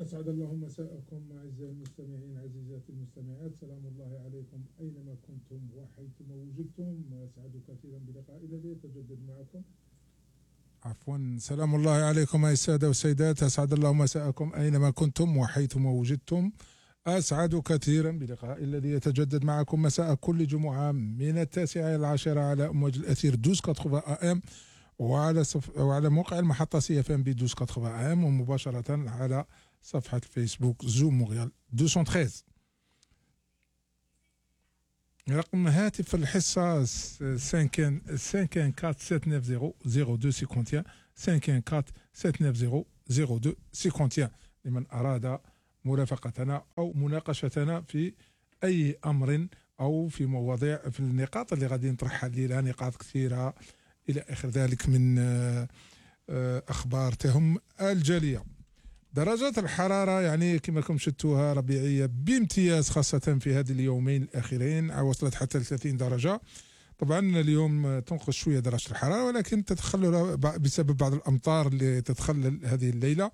أسعد الله مساءكم أعزائي المستمعين عزيزاتي المستمعات. سلام الله عليكم أينما كنتم وحيثما وجدتم. أسعد كثيرا بلقاء الذي يتجدد معكم. عفوا، سلام الله عليكم أيها السادة والسيدات. أسعد الله مساءكم أينما كنتم وحيثما وجدتم. أسعد كثيرا بلقاء الذي يتجدد معكم مساء كل جمعة من 9 إلى 10 على أمواج الأثير 1280 AM وعلى موقع المحطة CFM ب 1280 AM ومباشرة على صفحة الفيسبوك زوم مونريال 213. رقم هاتف الحصة 514-790-0251 لمن أراد مرافقتنا أو مناقشتنا في أي أمر أو في مواضيع في النقاط اللي غادي نطرحها الليلة، نقاط كثيرة إلى آخر ذلك من أخبار تهم الجالية. درجات الحرارة يعني كما راكم شفتوها ربيعية بامتياز، خاصة في هذه اليومين الأخيرين وصلت حتى 30 درجة. طبعا اليوم تنقص شوية درجة الحرارة، ولكن تتخلل بسبب بعض الأمطار اللي تتخلل هذه الليلة،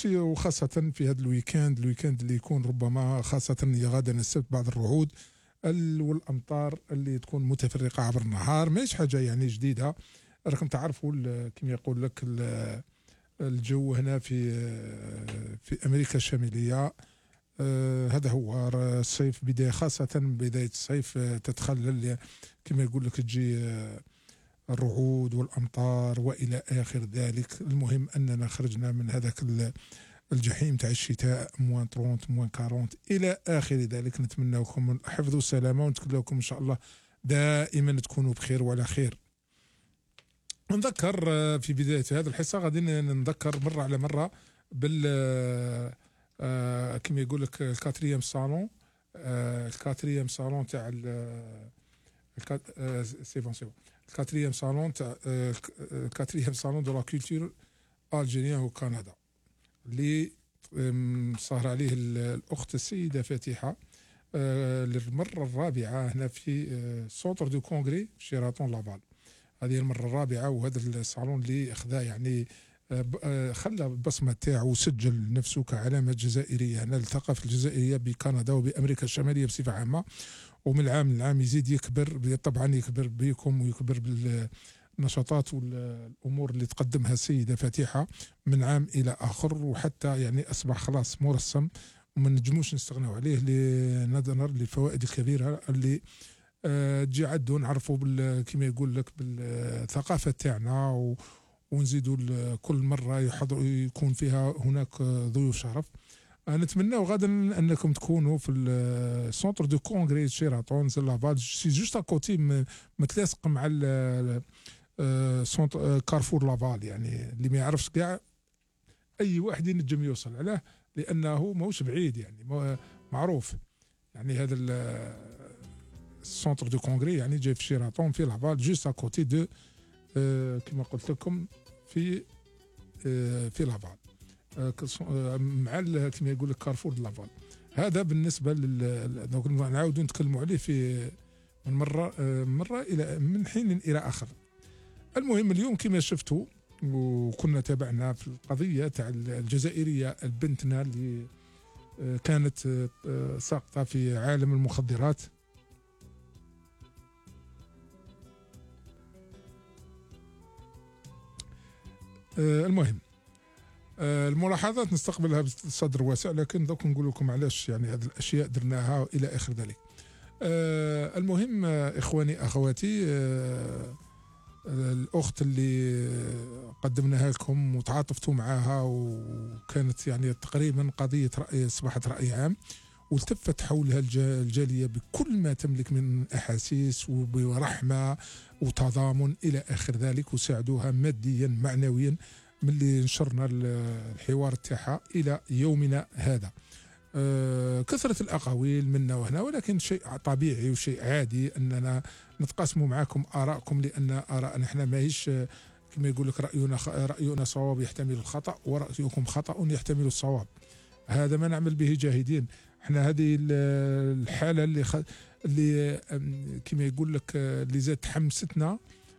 وخاصة في هذا الويكاند اللي يكون ربما خاصة غدا السبت بعض الرعود والأمطار اللي تكون متفرقة عبر النهار. ماهيش حاجة يعني جديدة، راكم تعرفوا كما يقول لك الجو هنا في أمريكا الشمالية. هذا هو الصيف بداية، خاصة بداية الصيف تتخلل كما يقول لك تجي الرعود والأمطار وإلى آخر ذلك. المهم أننا خرجنا من هذاك الجحيم تاع الشتاء -30 -40 إلى آخر ذلك. نتمنى لكم الحفظ والسلامة ونتمنى لكم إن شاء الله دائما تكونوا بخير وعلى خير. نذكر في بداية هذه الحصة غادي نذكر مرة على مرة بال كما يقول لك الكاتريام صالون تاع الكاتريام صالون دو لا كولتور الجيريان وكندا اللي صار عليه الأخت السيدة فاتحة للمرة الرابعة هنا في سونتر دو كونغري في شيراتون لافال. هذه المرة الرابعة، وهذا الصالون اللي أخذا يعني خلى البصمة تاعه وسجل نفسه كعلامة جزائرية هنا للثقافة الجزائرية بكندا وبأمريكا الشمالية بصفة عامة. ومن العام للعام يزيد يكبر، طبعا يكبر بكم ويكبر بالنشاطات والأمور اللي تقدمها السيدة فاتحة من عام إلى آخر، وحتى يعني أصبح خلاص مرسم وما نجموش نستغنوا عليه لنظرا للفوائد الكبيرة اللي تجي عدو نعرفوا كما يقول لك بالثقافة تاعنا، ونزيدوا كل مرة يكون فيها هناك ضيوف شرف. نتمنى غدا انكم تكونوا في السونتر دو كونغري شيراتون لافال، سي جوست اكوتي متلاصق مع سونتر كارفور لافال، يعني اللي ما يعرفش كاع اي واحد ينجم يوصل عليه لانه ماهوش بعيد، يعني معروف. يعني هذا السونتر دو كونغري يعني جاي في شيراتون في لافال جوست اكوتي دو كما قلت لكم في لافال مع كما يقول لك كارفور دو لافال. هذا بالنسبه دونك نعاودوا نتكلموا عليه في من مره الى من حين الى اخر. المهم اليوم كما شفتوا وكنا تابعنا في القضيه تاع الجزائريه البنتنا اللي كانت ساقطه في عالم المخدرات. المهم الملاحظات نستقبلها بصدر واسع، لكن دوك نقول لكم علاش يعني هذه الاشياء درناها الى اخر ذلك. المهم اخواني اخواتي، الاخت اللي قدمناها لكم وتعاطفتوا معها وكانت يعني تقريبا قضيه راي اصبحت راي عام، والتفت حولها الجاليه بكل ما تملك من احاسيس وبرحمه وتضامن الى اخر ذلك، وساعدوها ماديا معنويا من اللي نشرنا الحوار تاعها الى يومنا هذا. كثرة الأقاويل منا وهنا، ولكن شيء طبيعي وشيء عادي أننا نتقاسموا معكم آراءكم، لأن آراءنا احنا ماهيش كما يقول لك رأينا صواب يحتمل الخطأ، ورأيكم خطأ يحتمل الصواب. هذا ما نعمل به جاهدين. احنا هذه الحالة اللي كما يقول لك اللي زاد حمستنا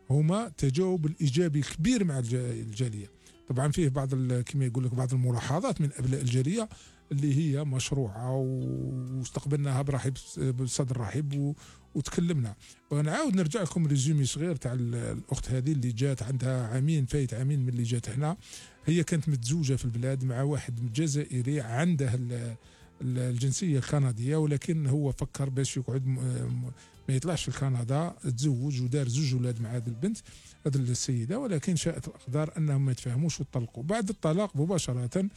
هما تجاوب الإيجابي الكبير مع الجالية. طبعا فيه بعض كما يقول لك بعض الملاحظات من ابناء الجاليه اللي هي مشروعه واستقبلناها برحب بصدر رحب وتكلمنا. ونعاود نرجع لكم ريزومي صغير تاع الاخت هذه اللي جات عندها عامين فايت عامين من اللي جات هنا. هي كانت متزوجه في البلاد مع واحد جزائري عنده الجنسيه الكنديه، ولكن هو فكر باش يقعد ما يطلعش في كندا، تزوج ودار 2 اولاد مع هذه البنت هذه السيده، ولكن شاءت الاقدار انهم ما يتفاهموش وطلقوا. بعد الطلاق مباشره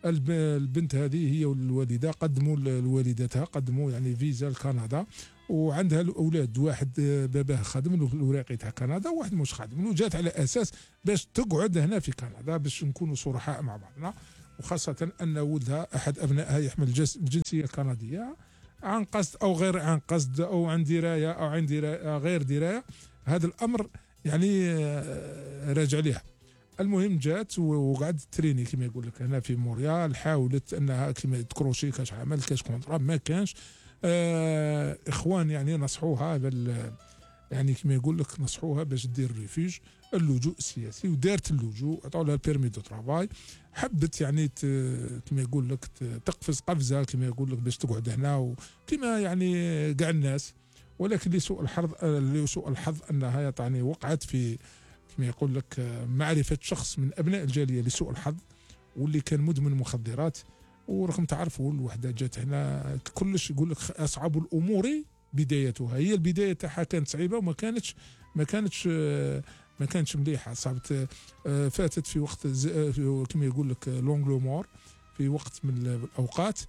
البنت هذه هي والوالده قدموا لوالدتها قدموا يعني فيزا لكندا، وعندها الاولاد واحد باباه خادم له الاوراق تاع كندا وواحد مش خادم له، جات على اساس باش تقعد هنا في كندا باش نكونوا صرحاء مع بعضنا، وخاصه ان ولدها احد ابنائها يحمل الجنسيه الكنديه عن قصد او غير عن قصد او عن درايه او عن درايه غير درايه. هذا الامر يعني راجع لها. المهم جات وقعدت تريني كما يقول لك هنا في مونريال، حاولت انها كما تكروشي كاش عمل كاش كونترا ما كانش. اخوان يعني نصحوها يعني كما يقول لك نصحوها باش دير ريفيج اللجوء السياسي، ودارت اللجوء، عطاو لها البيرمي دو ترافاي، حبت يعني كما يقول لك تقفز قفزه كما يقول لك باش تقعد هنا وكما يعني كاع الناس، ولكن لسوء الحظ انها يعني وقعت في كما يقول لك معرفه شخص من ابناء الجاليه لسوء الحظ، واللي كان مدمن مخدرات. ورغم تعرفوا الوحده جات هنا كلش يقول لك اصعب الامور بدايتها، هي البدايه تاعها كانت صعيبه وما كانتش مليحه، صعبت. فاتت في وقت كما يقول لك لونغلومور، في وقت من الاوقات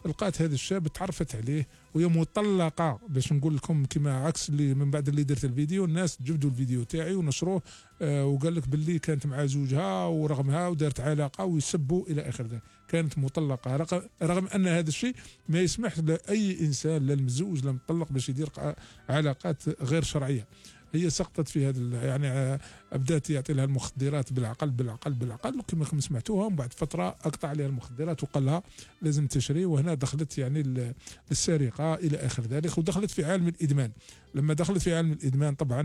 لقات هذا الشاب تعرفت عليه وهي مطلقه، باش نقول لكم كما عكس اللي من بعد اللي درت الفيديو الناس جبدوا الفيديو تاعي ونشروه، وقال لك باللي كانت مع زوجها ورغمها ودارت علاقه ويسبوا الى اخر ذلك، كانت مطلقه رغم ان هذا الشيء ما يسمح لاي انسان لا المزوج لا المطلق باش يدير علاقات غير شرعيه. هي سقطت في هذا يعني بدات يعطي لها المخدرات بالعقل وكما سمعتوها، ومن بعد فتره اقطع عليها المخدرات وقال لها لازم تشري، وهنا دخلت يعني السرقه الى اخر ذلك، ودخلت في عالم الادمان. لما دخلت في عالم الادمان طبعا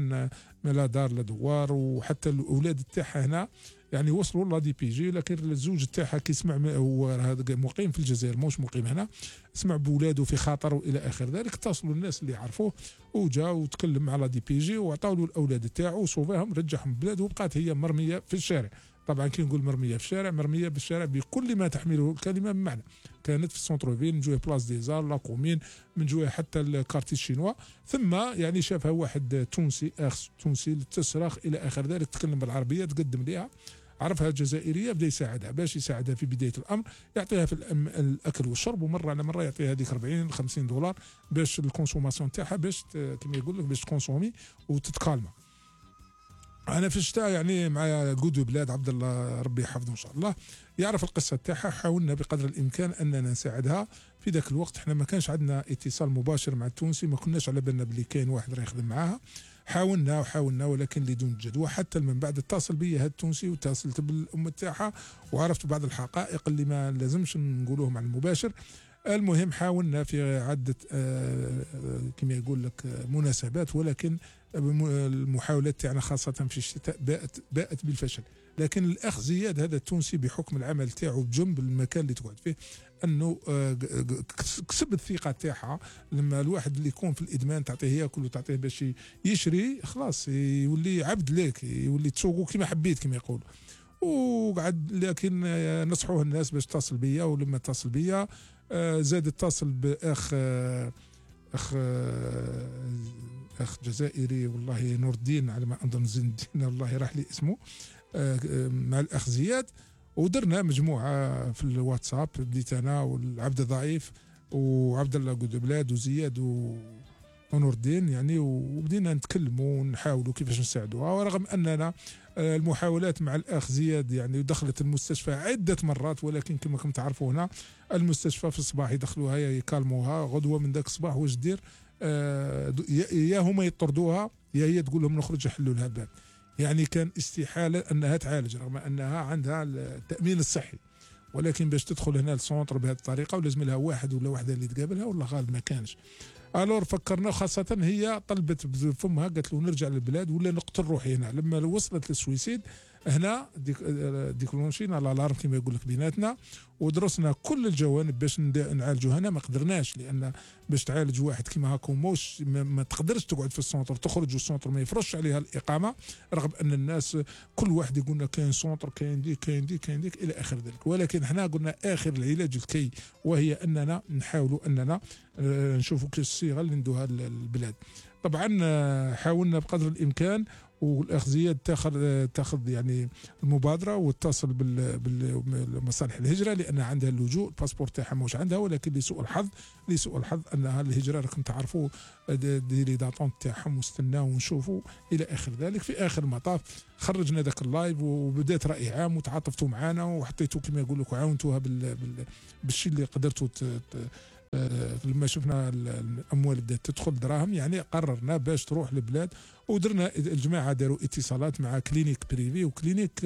ما لا دار لا دوار، وحتى الاولاد تاعها هنا يعني وصلوا لا دي بي جي، لكن الزوج تاعها كي سمع هو هذا مقيم في الجزائر موش مقيم هنا، سمع بولاده في خطر والى اخر ذلك، اتصلوا الناس اللي يعرفوه وجا وتكلم مع لا دي بي جي وعطاو له الاولاد تاعو وصوفاهم رجعهم بلاده، وبقات هي مرميه في الشارع. طبعا كي نقول مرميه في الشارع، مرميه بالشارع بكل ما تحمله الكلمه من معنى. كانت في السونتر فيل من جوه بلاص ديزار لا كومين، من جوه حتى الكارتي الشينوا، ثم يعني شافها واحد تونسي اخ تونسي تصرخ الى اخر ذلك، تكلم بالعربيه، تقدم ليها، عرفها جزائريه، بدا يساعدها باش يساعدها في بدايه الامر، يعطيها في الاكل والشرب، ومره على مره يعطيها هذيك 40 50 دولار باش الكونسوماسيون تاعها باش كما يقول لك باش تكونسومي وتتكالما. انا في الشتاء يعني مع قدو بلاد عبد الله ربي يحفظه ان شاء الله يعرف القصه تاعها، حاولنا بقدر الامكان اننا نساعدها. في ذاك الوقت احنا ما كانش عندنا اتصال مباشر مع التونسي، ما كناش على بالنا بلي كاين واحد راه يخدم معاها. حاولنا ولكن بدون جدوى، حتى من بعد اتصل بي هذا التونسي واتصلت بالام تاعها وعرفت بعض الحقائق اللي ما لازمش نقولوهم على المباشر. المهم حاولنا في عده كما يقول لك مناسبات، ولكن المحاولات تاعنا خاصه في الشتاء باءت بالفشل. لكن الاخ زياد هذا التونسي بحكم العمل تاعو بجنب المكان اللي تقعد فيه انه كسب الثقه تاعها. لما الواحد اللي يكون في الادمان تعطيه ياكل وتعطيه باش يشري، خلاص يولي عبد لك، يولي تسوقو كما حبيت كما يقولوا. وقعد لكن نصحوه الناس باش تصل بيا، ولما اتصل بيا زاد اتصل باخ اخ جزائري والله نور الدين على ما اظن زين الدين والله راح لي اسمه، مع الاخ زياد، ودرنا مجموعه في الواتساب، بديت انا والعبد الضعيف وعبد الله قد بلاد وزياد ونور الدين يعني، وبدينا نتكلموا ونحاولوا كيفاش نساعدوها. ورغم اننا المحاولات مع الاخ زياد يعني دخلت المستشفى عده مرات، ولكن كما راكم تعرفوا هنا المستشفى في الصباح يدخلوها يكالموها، غدوه من ذاك الصباح واش دير يا هما يطردوها يا هي تقول لهم نخرج يحلوا لها الباب. يعني كان استحاله انها تعالج رغم انها عندها التامين الصحي، ولكن باش تدخل هنا السونتر بهذه الطريقه ولازم لها واحد ولا وحده اللي تقابلها، والله غالب ما كانش. الور فكرنا، خاصه هي طلبت بفمها قالت له نرجع للبلاد ولا نقتل روحي هنا. لما وصلت للسويسيد هنا ديكلونشينا الالارم كما يقول لك بيناتنا، ودرسنا كل الجوانب باش نعالجوا. هنا ما قدرناش، لان باش تعالج واحد كيما هاكا موش ما تقدرش تقعد في السونتر، تخرج والسونتر ما يفرش عليها الاقامه، رغم ان الناس كل واحد يقول لنا كاين سونتر كاين ديك كاين ديك كاين ديك الى اخر ذلك. ولكن احنا قلنا اخر العلاج الكي، وهي اننا نحاولوا اننا نشوفوا كيف الصيغه اللي ندوها البلاد. طبعا حاولنا بقدر الامكان، والاخ زياد تاخذ يعني المبادره واتصل بالمصالح الهجره، لان عندها اللجوء، الباسبور تاعها مش عندها، ولكن لسوء الحظ انها الهجره راكم تعرفوا ديري داتون تاعهم واستناو ونشوفوا الى اخر ذلك. في اخر المطاف خرجنا ذاك اللايف وبدات راي عام وتعاطفتوا معنا وحطيتوا كما يقول لك وعاونتوها بالشيء اللي قدرتوا لما شفنا الاموال بدات تدخل دراهم، يعني قررنا باش تروح للبلاد، ودرنا الجماعه داروا اتصالات مع كلينيك بريفي وكلينيك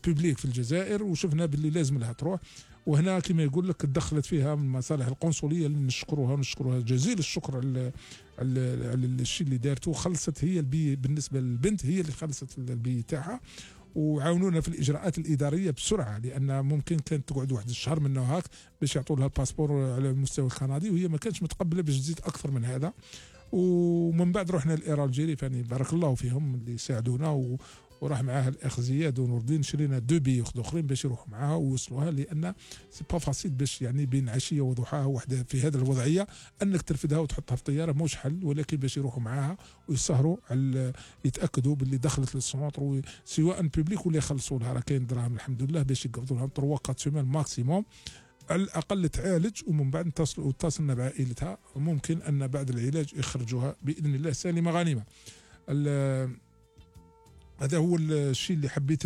بوبليك في الجزائر، وشفنا باللي لازم لها تروح. وهنا كما يقول لك تدخلت فيها من المصالح القنصليه اللي نشكروها جزيل الشكر على الشيء اللي دارته. خلصت هي البي بالنسبه للبنت، هي اللي خلصت البي تاعها، وعاونونا في الاجراءات الاداريه بسرعه، لان ممكن كانت تقعد واحد الشهر منه هاك باش يعطوا لها الباسبور على المستوى الكندي، وهي ما كانتش متقبله باش تزيد اكثر من هذا. ومن بعد رحنا لإيرال جيري، فاني بارك الله فيهم اللي ساعدونا، وراح معاها الاخ زياد ونور الدين، شرينا 2 بي اخرين باش يروحوا معاها ويوصلوها، لان سي با فاسيل باش يعني بين عشيه وضحاها وحده في هذه الوضعيه انك ترفدها وتحطها في طياره موش حل، ولكن باش يروحوا معاها ويسهروا على يتاكدوا باللي دخلت للسونتر سواء بوبليك ولا يخلصوا لها، راه كاين دراهم الحمد لله باش يقبضوا لها 3 سيمان ماكسيموم على الاقل تعالج، ومن بعد اتصلنا بعائلتها، وممكن ان بعد العلاج يخرجوها باذن الله سالمه غانمه. هذا هو الشيء اللي حبيت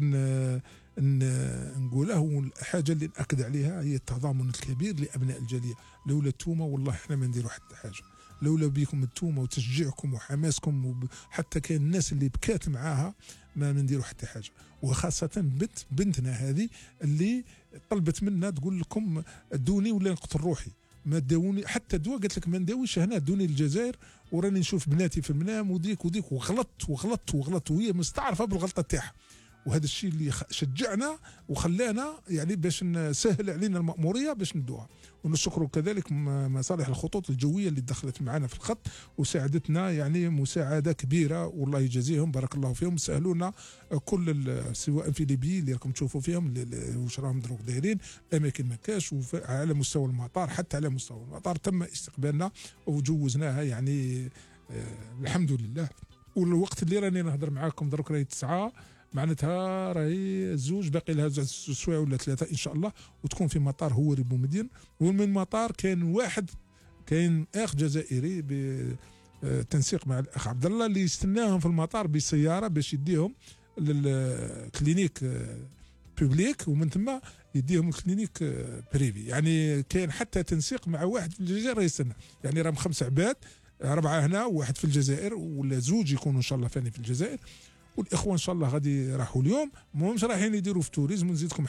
نقوله، والحاجه اللي ناكد عليها هي التضامن الكبير لابناء الجاليه. لولا التومه والله احنا ما نديروا حتى حاجه، لولا بيكم التومه وتشجيعكم وحماسكم، وحتى كاين الناس اللي بكات معاها ما نديروا حتى حاجه. وخاصه بنتنا هذه اللي طلبت منا تقول لكم ادوني ولا نقتل روحي، ما داوني حتى دواء، قالت لك ما نداويش هنا، دوني الجزائر وراني نشوف بناتي في المنام وديك وغلطت وهي مستعرفه بالغلطه تاعها. وهذا الشيء اللي شجعنا وخلانا يعني باش نسهل علينا المأموريه باش ندوها. ونشكر كذلك مصالح الخطوط الجويه اللي دخلت معنا في الخط وساعدتنا يعني مساعده كبيره، والله يجازيهم بارك الله فيهم. سهلوا لنا كل سواء في ليبيا اللي راكم تشوفوا فيهم واش راهم دروك دايرين، اماكن ما كاش، وعلى مستوى المطار حتى على مستوى المطار تم استقبالنا وجوزناها يعني الحمد لله. والوقت اللي راني نهضر معاكم دروك راهي 9، معناتها راهي الزوج باقي لها 2 سوايع ولا 3 ان شاء الله، وتكون في مطار هوري بومدين. ومن المطار كاين اخ جزائري بالتنسيق مع الاخ عبد الله اللي يستناهم في المطار بالسياره باش يديهم للكلينيك بوبليك، ومن ثم يديهم الكلينيك بريفي. يعني كاين حتى تنسيق مع واحد في الجزائر يستنى، يعني راهم 5 عباد، 4 هنا وواحد في الجزائر، ولا زوج يكونوا ان شاء الله ثاني في الجزائر. والاخوه ان شاء الله غادي راحوا اليوم، ماهمش رايحين يديروا في توريزم ونزيدكم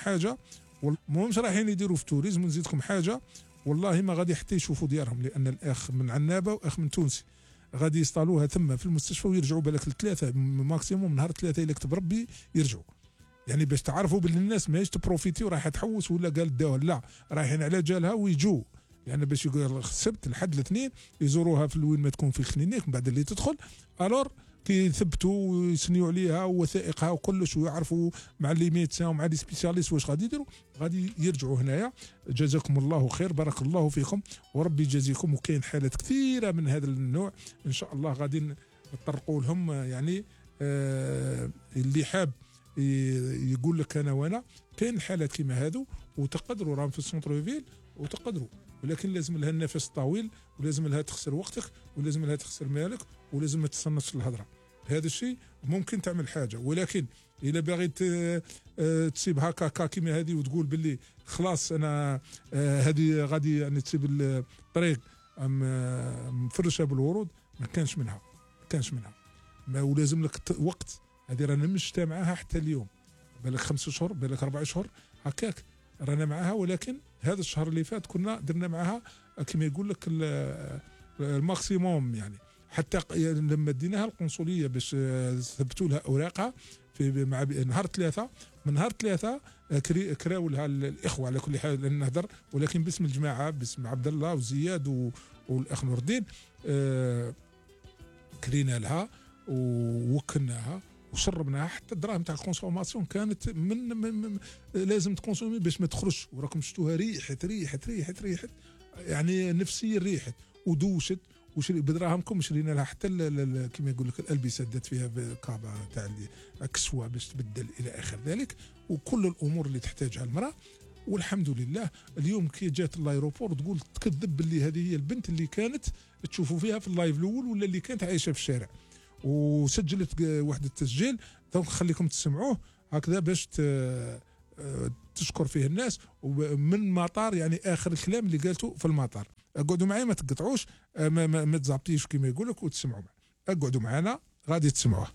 حاجه، والله ما غادي حتى يشوفوا ديارهم، لان الاخ من عنابه واخ من تونسي غادي يصطالوها ثم في المستشفى ويرجعوا بالك ال3 ماكسيموم، نهار 3 الا كتب ربي يرجعوا. يعني باش تعرفوا باللي الناس ماهيش تبروفيتي ورايحه تحوس ولا قال داوها، لا رايحين على جالها ويجوا، يعني باش يقول السبت الحد الاثنين يزوروها في وين ما تكون في الكلينيك، من بعد اللي تدخل الور كيثبتوا ويسنيوا عليها ووثائقها وكلش، ويعرفوا مع لي ميدسان ومع لي سبيسياليست واش غادي يديروا، غادي يرجعوا هنايا. جزاكم الله خير، بارك الله فيكم وربي يجازيكم. وكاين حالات كثيره من هذا النوع ان شاء الله غادي نطرقوا لهم، يعني اللي حاب يقول لك انا وانا كاين حالات كيما هذو، وتقدروا راهم في السونتر فيل وتقدروا، ولكن لازم لها النفس طويل، ولازم لها تخسر وقتك، ولازم لها تخسر مالك، ولازم ما تتصنتش الهضره. هذا الشيء ممكن تعمل حاجه، ولكن الا باغي تسيب هكا كيما هذه وتقول باللي خلاص انا هذه غادي يعني تسيب الطريق مفرشه بالورود، ما كانش منها ما، ولازم لك وقت. هذه رانا مش معاها حتى اليوم، بالك 5 شهور بالك 4 شهور هكاك رانا معاها، ولكن هذا الشهر اللي فات كنا درنا معاها كما يقول لك الماكسيموم، يعني حتى لما ديناها القنصليه باش ثبتوا لها اوراقها في مع نهار 3 من نهار 3 كراو لها الاخوه على كل حال لان نهضر، ولكن باسم الجماعه، باسم عبد الله وزياد والاخ نور الدين. كرينا لها ووكلناها وشربناها حتى الدراهم تاع الكونسوماسيون كانت من لازم تكونسومي باش ما تخرجش. وراكم شفتوها ريحت يعني نفسيا ريحت ودوشت. بدراهمكم شرينا لها حتى كما يقول لك الالبسه دات فيها كابا تاع كسوه باش تبدل الى اخر ذلك، وكل الامور اللي تحتاجها المراه. والحمد لله اليوم كي جات اللايروبور تقول تكذب باللي هذه هي البنت اللي كانت تشوفوا فيها في اللايف الاول ولا اللي كانت عايشه في الشارع. وسجلت واحد التسجيل دونك خليكم تسمعوه هكذا باش تشكر فيه الناس. ومن مطار يعني اخر الكلام اللي قالته في المطار. اقعدوا معي ما تقطعوش، ما تزابطيش كما يقول لك وتسمعوا معي. اقعدوا معنا غادي تسمعوه.